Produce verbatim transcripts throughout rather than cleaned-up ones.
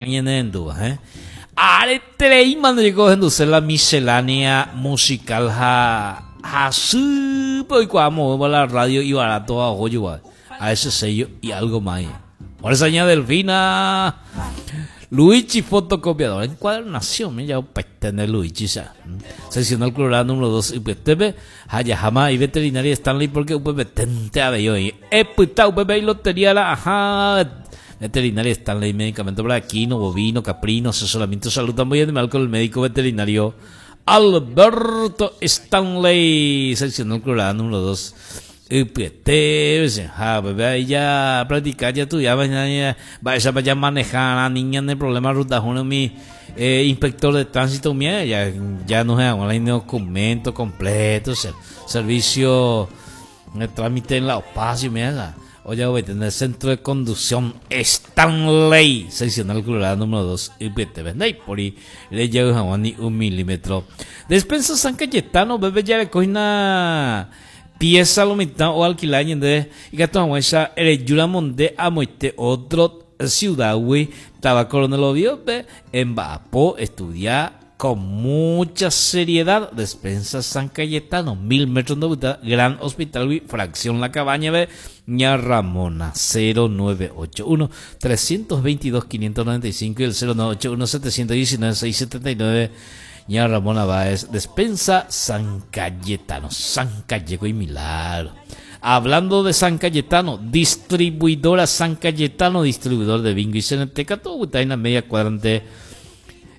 Ñanendúva, eh? Aretereíma llegó la miscelánea musical ha hasýpe oikuaa la radio y barato a ojo a ese sello y algo más. Por esa ña Delfina Luigi fotocopiador encuadernación me ya de Luigi ya seccional Colorado número dos I P T P Hayahama y veterinaria Stanley, porque U P P tente a ahí epyta U P P y lotería la ajá. Veterinaria Stanley, medicamento para equino, bovino, caprino, asesoramiento, salud también animal con el médico veterinario Alberto Stanley, seccional Colorado número dos I P T, ja, bebé, ya practicar ya tú ya ya vaya vaya a manejar a niña en el problema ruta mi eh, inspector de tránsito mía ya ya no se el documento completo, servicio el trámite en la espacio mía. Oye, voy a tener centro de conducción Stanley, seccional Colorado número dos, I P T, y por ahí le llega ni un milímetro. Despensa San Cayetano, bebé, ya le coge una pieza lo mitad o alquilar de y que esa el monde amoite otro ciudad güey estaba Coronel Oviedo en Bapo estudia con mucha seriedad. Despensa San Cayetano, mil metros de Gran Hospital, fracción La Cabaña B, Ña Ramona, cero nueve ocho uno trescientos veintidós quinientos noventa y cinco y el cero nueve ocho uno setecientos diecinueve seiscientos setenta y nueve. Ña Ramona Báez, Despensa San Cayetano, San Calleco y Milagro. Hablando de San Cayetano, distribuidora San Cayetano, distribuidor de bingo y C N T, todo está en la media cuadrante.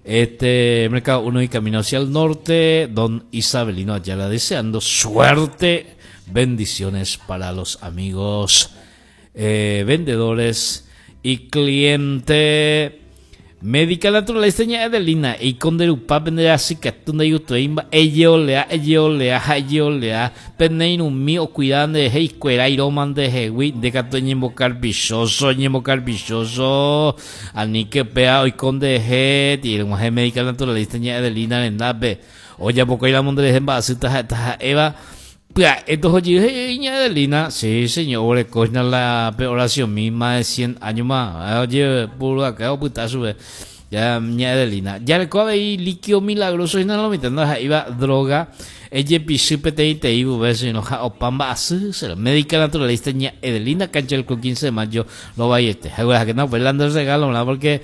Este Mercado uno y camino hacia el norte, don Isabelino Ayala deseando suerte, bendiciones para los amigos eh, vendedores y cliente. Médica naturalista ña Edelina y con derupa vendría así que tunda yutoimba ellolea ellolea hayolea peneirumi o cuidan de heiscuera iroman de hewi de gato ñembocar bichoso ñembocar bichoso ani que pea hoy con de he tiene un médica naturalista ña Edelina en nabe oye poco y la monde de hemba así ta eva. Esto es ña Edelina, sí señor, coña la oración misma de cien años más. Oye, puro acá, puta sube. Ya, ña Edelina. Ya le cobe ahí líquido milagroso y no lo metiendo, iba droga. Ella pisu P T I T I, no ja opamba así, médica naturalista ña Edelina, cancha el quince de mayo, lo vaya este. Que no, pues el regalo, ¿verdad? Porque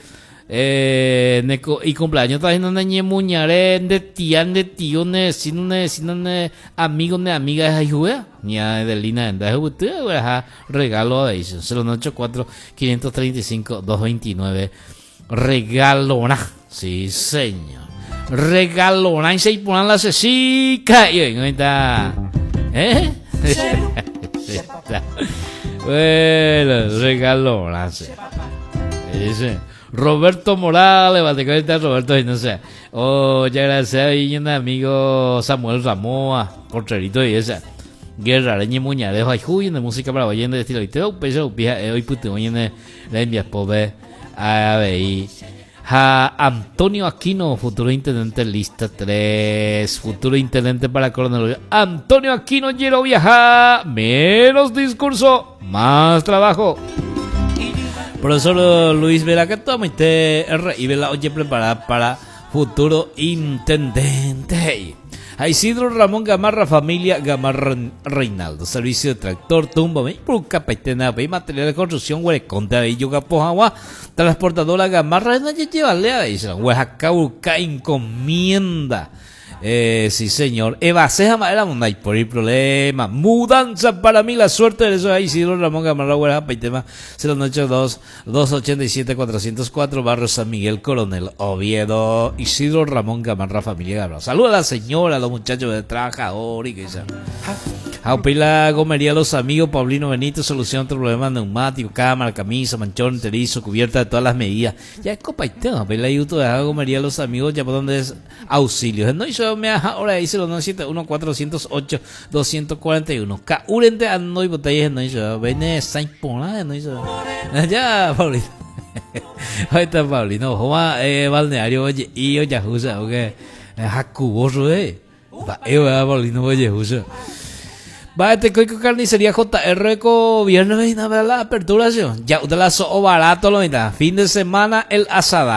eh, neko, y cumpleaños está haciendo ne muñare de tía de tío ne vecino ne vecino ne amigo ne amiga de juega ña Edelina enda regalo de cero ocho cuatro quinientos treinta y cinco doscientos veintinueve. Regalona, sí señor, regalona y se ponen la cesica y está, ¿eh? Bueno, regalona, sí. Sí. Roberto Morales, bate Roberto, no sé. Oh, ya gracias y un amigo Samuel Ramoa, porterito y esa. Guerra, leña muña, dejo ahí, de música para de estilo y te peso, pija, hoy puto, oye, le envías pobre a ver. A Antonio Aquino, futuro intendente lista tres, futuro intendente para Coronel. Antonio Aquino, quiero viajar, menos discurso, más trabajo. Profesor Luis Vera, que toma R y Vela oye preparada para futuro intendente. A Isidro Ramón Gamarra, familia Gamarra Reinaldo. Servicio de tractor, tumba, y material de construcción, huereconte, yoga, pojagua, transportadora Gamarra, no llevarle a Oaxaca, encomienda. Eh, sí, señor. Eva Ceja Madera, no hay por el problema. Mudanza para mí, la suerte de eso. Isidro Ramón Gamarra, Huera, tema cero ocho dos doscientos ochenta y siete cuatrocientos cuatro, Barrio San Miguel, Coronel Oviedo. Isidro Ramón Gamarra, familia Gamarra. Saluda a la señora, a los muchachos de trabajador y que sea. La gomería Los Amigos, Paulino Benito, solución a problemas neumáticos, cámara, camisa, manchón, enterizo, cubierta de todas las medidas. Ya es copa y tema, la YouTube de la gomería Los Amigos, ya por donde es auxilio. No hizo me ahora dice los nueve siete uno cuatrocientos ocho doscientos cuarenta y uno. Ka urente ando y botellas no hizo. Vene sain pola no hizo. Ya, Paulino. Ahí está Paulino. Joma eh balneario oye y oye jusa, ok. Hakubo eh. Va, eh, Paulino oye jusa. Mba'etekóiko carnicería J R ko viernes la apertura, ya de la so'o barato lo mitad. Fin de semana el asada.